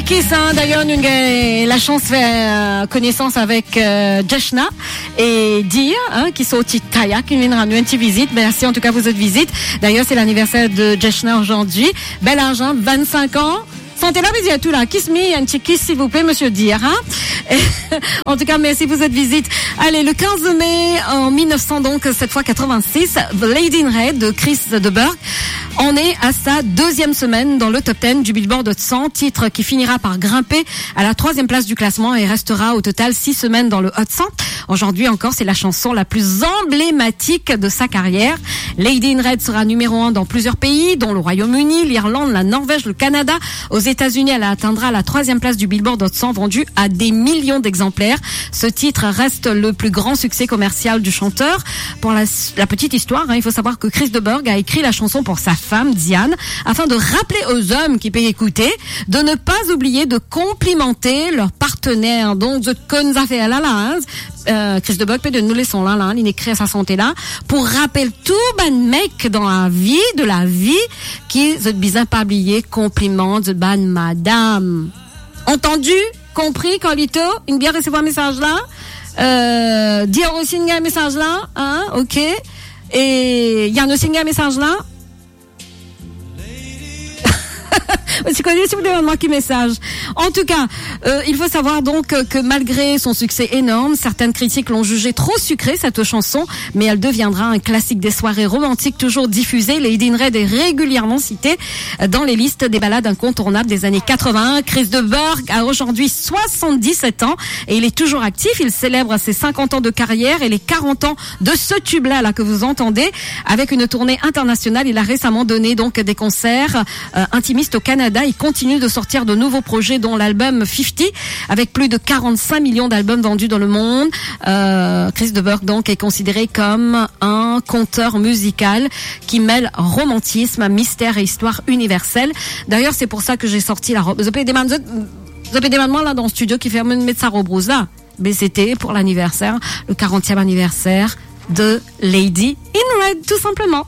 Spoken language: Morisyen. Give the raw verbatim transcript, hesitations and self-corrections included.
Ki sa, d'ailleurs, nous avons la chance de faire connaissance avec euh, Jeshna et Dir, hein, qui sont au Titaya, qui viendra nous une petite visite. Merci en tout cas pour cette visite. D'ailleurs, c'est l'anniversaire de Jeshna aujourd'hui. Bel az, hein, vingt-cinq ans. Sante la, bizin tou la. Kiss me, un petit kiss, s'il vous plaît, monsieur Dir, hein. En tout cas, merci pour cette visite. Allez, le quinze mai en mille neuf cents, donc cette fois quatre-vingt-six, The Lady in Red de Chris de Burgh en est à sa deuxième semaine dans le top dix du Billboard Hot cent, titre qui finira par grimper à la troisième place du classement et restera au total six semaines dans le Hot cent. Aujourd'hui encore, c'est la chanson la plus emblématique de sa carrière. Lady in Red sera numéro un dans plusieurs pays, dont le Royaume-Uni, l'Irlande, la Norvège, le Canada. Aux États-Unis, elle atteindra la troisième place du Billboard Hot cent, vendue à des millions d'exemplaires. Ce titre reste le plus grand succès commercial du chanteur. Pour la, la petite histoire, hein, il faut savoir que Chris de Burgh a écrit la chanson pour sa femme, Diane, afin de rappeler aux hommes qui peuvent écouter de ne pas oublier de complimenter leur partenaire. Donc, zot konn zafer la, la, hein. Euh, Chris de Burgh pe donn nou leson la, la, li ekrir sa sante la, pou rapel tou bann mek dan lavi, de la vie, ki zot bizin pa bliye konpliman zot bann madam. Entendu? Compris, Carlito? Inn bien resevwar mesaz la? Euh, Dior osi inn gagn mesaz la, hein? Ok. E Yann osi inn gagn mesaz la? Ti kone si ou demann mwa ki mesaz. En tout cas, euh, il faut savoir donc que, que malgré son succès énorme, certaines critiques l'ont jugée trop sucrée, cette chanson, mais elle deviendra un classique des soirées romantiques toujours diffusées. Lady in Red est régulièrement citée dans les listes des ballades incontournables des années quatre-vingts. Chris de Burgh a aujourd'hui soixante-dix-sept ans et il est toujours actif. Il célèbre ses cinquante ans de carrière et les quarante ans de ce tube-là, là, que vous entendez, avec une tournée internationale. Il a récemment donné donc des concerts euh, intimistes au Canada. Il continue de sortir de nouveaux projets, dont l'album fifty, avec plus de quarante-cinq millions d'albums vendus dans le monde. Euh, Chris de Burgh, donc, est considéré comme un conteur musical qui mêle romantisme, mystère et histoire universelle. D'ailleurs, c'est pour ça que j'ai sorti la robe. Zot pe demann, zot, zot pe demann mwa la dan studio ki fer mo met sa rob rouz la. Mais c'était pour l'anniversaire, le quarantième anniversaire de Lady in Red, tout simplement.